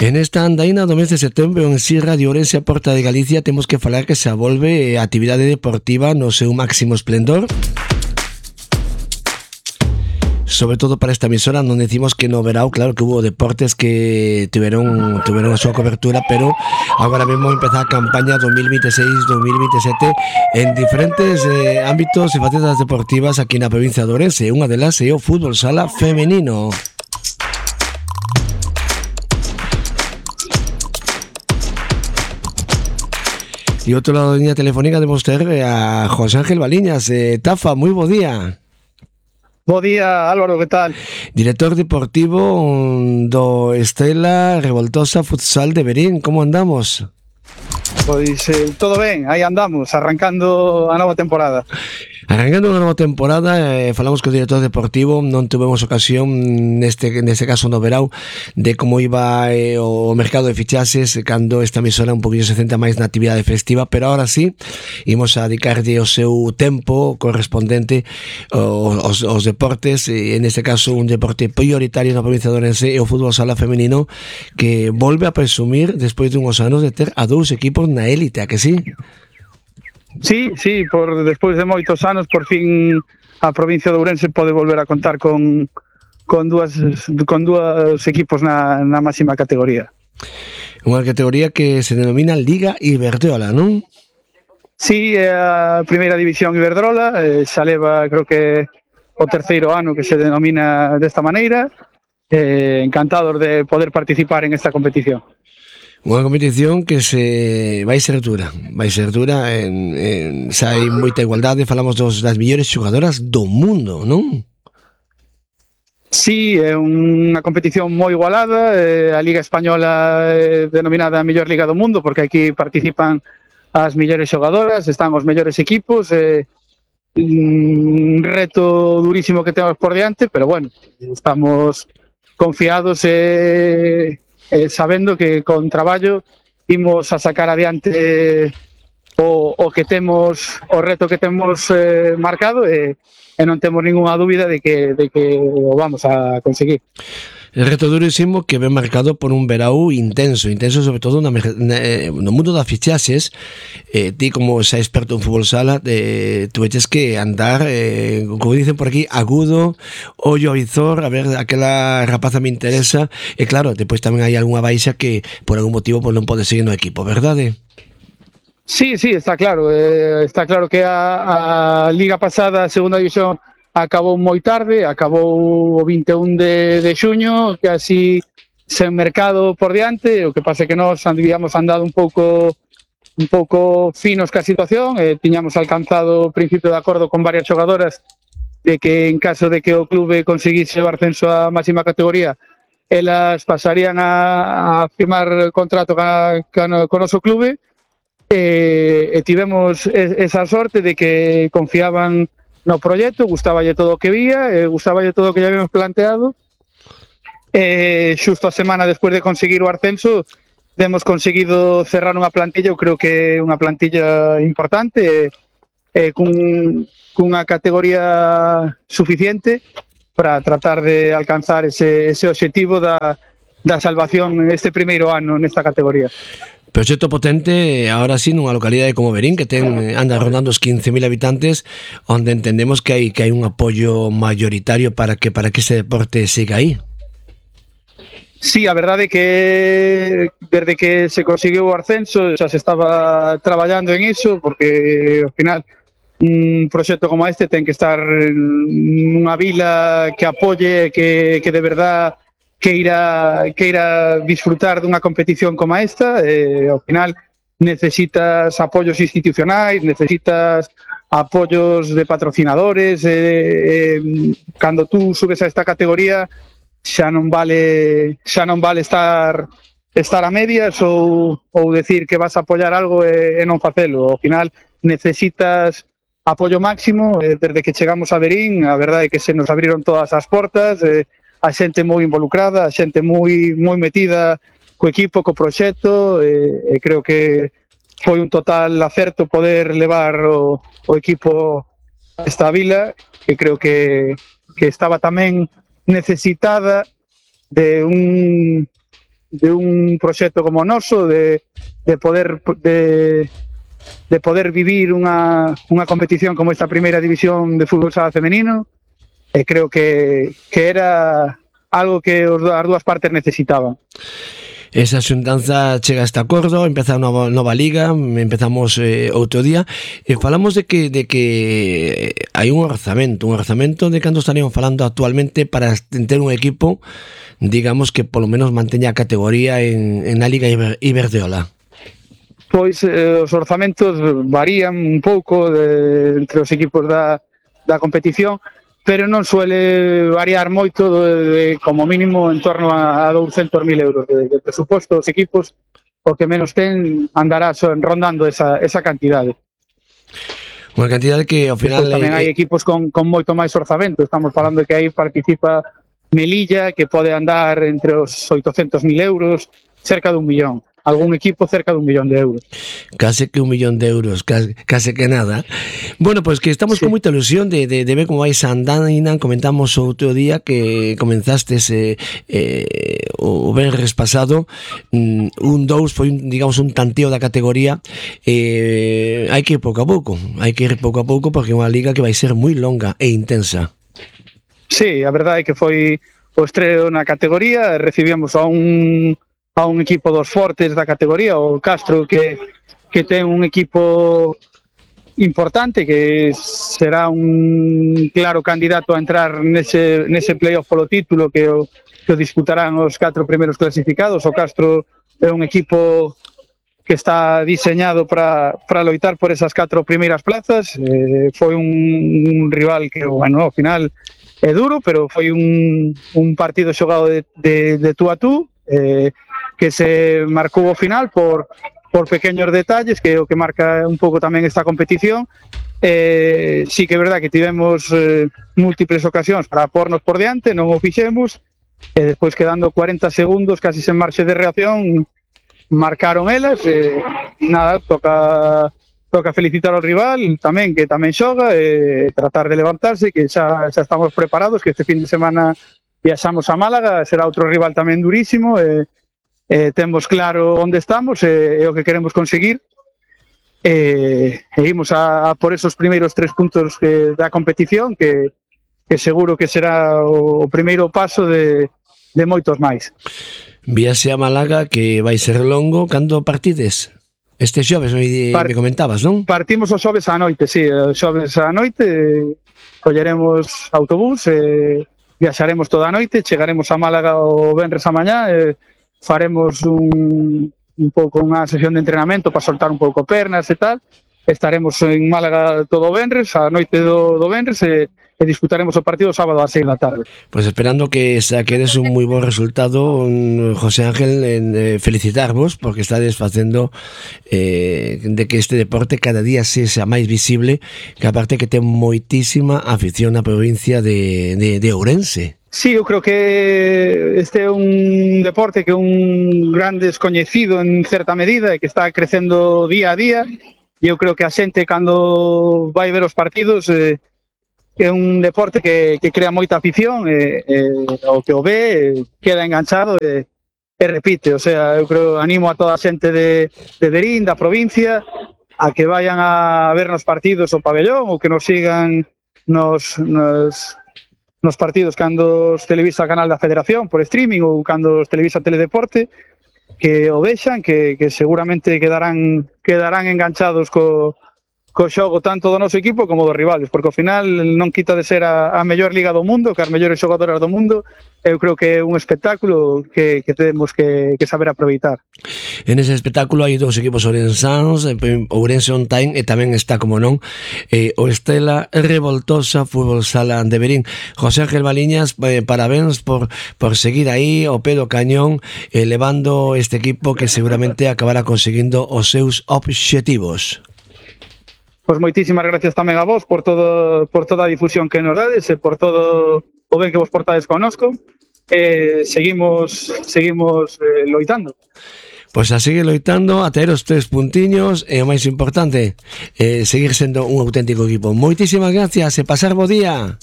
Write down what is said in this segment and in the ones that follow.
En esta andaina do mes de setembro en Si Radio Ourense a Porta de Galicia temos que falar que se volve a actividade deportiva no seu máximo esplendor. Sobre todo para esta emisora, non decimos que no verao, claro que hubo deportes que tiveron a súa cobertura, pero agora mesmo empeza a campaña 2026-2027 en diferentes ámbitos e facetas deportivas aquí na provincia de Ourense. Unha delas é o fútbol sala femenino. E outro lado da línea telefónica debemos ter a José Ángel Baliñas. Tafa, moi bo día. Bo día, Álvaro, que tal? Director deportivo do Estrela Revoltosa Futsal de Verín, como andamos? Pois todo ben, aí andamos, arrancando a nova temporada. Arrancando unha nova temporada, falamos co director deportivo, non tuvemos ocasión neste caso no verao de como iba o mercado de fichaxes cando esta emisora un poquinho se centra máis na actividade festiva, pero ahora sí imos a dedicarlle o seu tempo correspondente aos deportes, e neste caso un deporte prioritario na provincia de Ourense é o fútbol sala femenino, que volve a presumir despois de uns anos de ter a dous equipos na élite, a que sí? Sí, despois de moitos anos, por fin a provincia de Ourense pode volver a contar con dúas equipos na máxima categoría. Unha categoría que se denomina Liga Iberdrola, non? Sí, é a primeira división Iberdrola, xa leva, creo que o terceiro ano que se denomina desta maneira. Encantados de poder participar en esta competición. Unha competición que vai ser dura, xa hai moita igualdade, falamos das mellores xogadoras do mundo, non? Sí, é unha competición moi igualada, a Liga Española é denominada a mellor liga do mundo porque aquí participan as mellores xogadoras, están os mellores equipos, un reto durísimo que temos por diante, pero bueno, estamos confiados sabendo que con traballo imos a sacar adiante o reto que temos marcado, e non temos ningunha dúbida de que o vamos a conseguir. El reto durísimo que ven marcado por un verao intenso sobre todo no mundo das fichaxes. Ti como xa experto en fútbol sala, tu veches que andar, como dicen por aquí, agudo, ollo a visor, a ver, aquela rapaza me interesa, e claro, depois tamén hai algunha baixa que por algún motivo pues, non pode seguir no equipo, verdade? Sí, está claro. Está claro que a Liga pasada, a segunda división, acabou moi tarde, acabou o 21 de xuño, que así sen mercado por diante. O que pasa é que nós habíamos andado un pouco finos ca situación, tiñamos alcanzado o principio de acordo con varias xogadoras de que en caso de que o clube conseguise o ascenso á máxima categoría, elas pasarían a firmar contrato co noso clube, e tivemos esa sorte de que confiaban no proxecto, gustaballe todo o que vía, gustaballe todo o que ya habíamos planteado. Xusto a semana despois de conseguir o ascenso, hemos conseguido cerrar unha plantilla, eu creo que é unha plantilla importante, cunha categoría suficiente para tratar de alcanzar ese obxectivo da salvación este primeiro ano nesta categoría. Proxecto potente, ahora sí, nunha localidade como Verín, que anda rondando os 15.000 habitantes, onde entendemos que hai un apoio mayoritario para que ese deporte siga aí. Sí, a verdade é que desde que se conseguiu o ascenso xa se estaba traballando en iso, porque ao final un proxecto como este ten que estar nunha vila que apoie, que de verdad queira disfrutar dunha competición como esta. Ao final necesitas apoios institucionais, necesitas apoios de patrocinadores, cando tú subes a esta categoría xa non vale estar a medias ou decir que vas a apoiar algo e non facelo. Ao final necesitas apoio máximo. Desde que chegamos a Verín, a verdade é que se nos abriron todas as portas, a xente moi involucrada, a xente moi metida co equipo, co proxecto, e creo que foi un total acerto poder levar o equipo a esta vila, que creo que estaba tamén necesitada de un proxecto como o noso, de poder vivir unha competición como esta primeira división de fútbol sala femenino, e creo que era algo que as dúas partes necesitaban. Esa xuntanza chega a este acordo, empeza a nova liga, empezamos outro día, e falamos de que hai un orzamento de canto estarían falando actualmente para ter un equipo, digamos, que polo menos manteña a categoría en a Liga Iberdrola. Pois os orzamentos varían un pouco entre os equipos da competición, pero non suele variar moito, como mínimo en torno a 200.000 euros de presuposto. Os equipos, o que menos ten, andará rondando esa cantidade. Unha cantidade que ao final... Tamén hai equipos con moito máis orzamento. Estamos falando de que aí participa Melilla, que pode andar entre os 800.000 euros, cerca de 1 millón. Algún equipo cerca de 1 millón de euros. Case que 1 millón de euros, case que nada. Bueno, pois que estamos con moita ilusión de ver como vais andando. Comentamos outro día que comenzastes o venres pasado, un 2 foi, digamos, un tanteo da categoría. Hai que ir pouco a pouco, porque é unha liga que vai ser moi longa e intensa. Sí, a verdade é que foi o estreo na categoría. Recibíamos a un equipo dos fortes da categoría, o Castro, que ten un equipo importante, que será un claro candidato a entrar nese playoff polo título que o disputarán os 4 primeiros clasificados. O Castro é un equipo que está diseñado para loitar por esas 4 primeiras plazas. Foi un rival que, bueno, ao final é duro, pero foi un partido xogado de tú a tú, que se marcou ao final por pequeños detalles, que é o que marca un pouco tamén esta competición. Sí que é verdad que tivemos múltiples ocasións para pornos por diante, non o fixemos, e despois, quedando 40 segundos casi sen marxe de reacción, marcaron elas. Nada, toca felicitar ao rival tamén, que tamén xoga, e tratar de levantarse, que xa estamos preparados, que este fin de semana viaxamos a Málaga, será outro rival tamén durísimo. Temos claro onde estamos e o que queremos conseguir, e imos a por esos primeiros 3 puntos da competición, que seguro que será o primeiro paso de moitos máis. Viaxe a Málaga, que vai ser longo. Cando partides? Este xoves me comentabas, non? Partimos o xoves á noite, sí, o xoves á noite, colleremos autobús, viaxaremos toda a noite, chegaremos a Málaga o venres a mañá, faremos un pouco unha sesión de entrenamento para soltar un pouco pernas e tal. Estaremos en Málaga todo o venres, a noite do venres, e disputaremos o partido sábado ás 6 da tarde. Pois esperando que saquedes un moi bo resultado, José Ángel, felicitarvos, porque estades facendo de que este deporte cada día sexa máis visible, que aparte que ten moitísima afición na provincia de Ourense. Sí, eu creo que este é un deporte que é un gran descoñecido en certa medida, e que está crecendo día a día, e eu creo que a xente, cando vai ver os partidos, é un deporte que crea moita afición, e o que o ve queda enganchado e repite. O sea, eu creo, animo a toda a xente de Verín, da provincia, a que vayan a ver nos partidos o pabellón, ou que nos sigan nos partidos cando os televisa o canal da Federación por streaming, ou cando os televisa Teledeporte, que o vexan, que seguramente quedarán enganchados co xogo tanto do noso equipo como dos rivales, porque ao final non quita de ser a mellor liga do mundo, que as mellores xogadoras do mundo. Eu creo que é un espectáculo que temos que saber aproveitar. En ese espectáculo hai 2 equipos ourensáns, Ourense On Time, e tamén está, como non, o Estela Revoltosa Fútbol Sala de Verín. José Ángel Baliñas, parabéns por seguir aí ao pé do cañón, levando este equipo que seguramente acabará conseguindo os seus obxectivos. Pois moitísimas gracias tamén a vos por toda a difusión que nos dades, e por todo o ben que vos portades connosco. Seguimos loitando. Pois a seguir loitando, a ter os 3 puntiños, e o máis importante, seguir sendo un auténtico equipo. Moitísimas gracias e pasar bo día.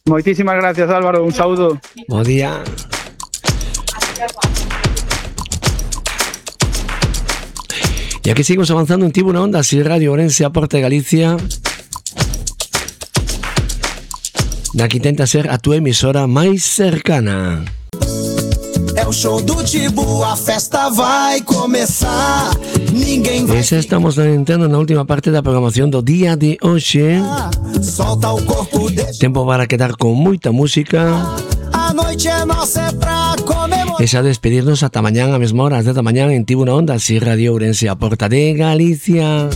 Moitísimas gracias, Álvaro, un saúdo. Bo día. Y aquí seguimos avanzando en Tibu na Onda, así Radio Ourense, Porta de Galicia. Na que intenta ser a tua emisora máis cercana. É o show do Tibu, a festa vai começar. Ninguém vai. Esa estamos entrando na última parte da programación do día de hoxe. Solta o corpo, deixa. Tempo para quedar con moita música. A noite é nossa, é pra comemorar. E xa despedirnos ata mañán a mesma hora, ás 10 da mañán en Tibu na Onda, así Radio Ourense, a Porta de Galicia.